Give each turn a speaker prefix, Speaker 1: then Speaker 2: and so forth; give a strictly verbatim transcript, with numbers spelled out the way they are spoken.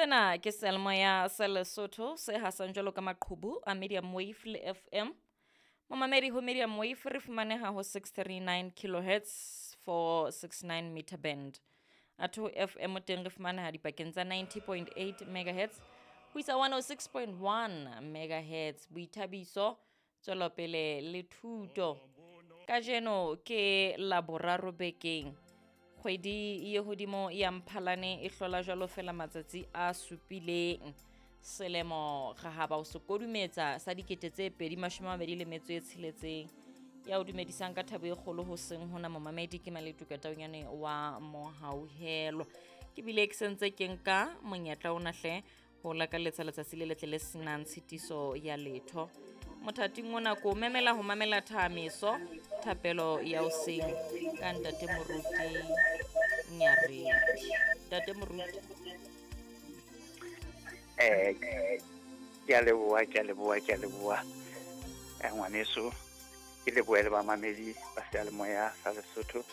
Speaker 1: Sena ke seyalemoya sa Lesotho se hasang jwalo ka maqhubu a medium wave le F M. Momamedi ho medium wave re fumaneha ho six three nine kilohertz four six nine meter band. Atho F M teng re fumaneha dipakeng tsa ninety point eight megahertz ho isa one oh six point one megahertz. Boithabiso, tswelopele le thuto. Kajeno ke Laboraro bekeng. Kgwedi ye hodimo ya Mphalane e hlola jwalo fela matsatsi a supileng. Selemo re haba ho se kodumetsa sa dikete tse pedi mashome a mabedi le metso e tsheletseng. Ya o dumedisang ka thabo e kgolo ho seng hona momamedi ke Maletuka Taunyane wa Mohauhelwa. Ke bile ke sentse ke nka monyetla ona hle ho lakaletsa letsatsi le letle le senang tshitiso ya letho. Mothating ona ko memela ho mamela thamiso thapelo ya hoseng ka ntate Moruti Nyaredi. Ntate Moruti.
Speaker 2: Eh, ke a leboha, ke a leboha, ke a leboha. Eh, ngwaneso, ke lebohe le bamamedi ba seyalemoya sa Lesotho.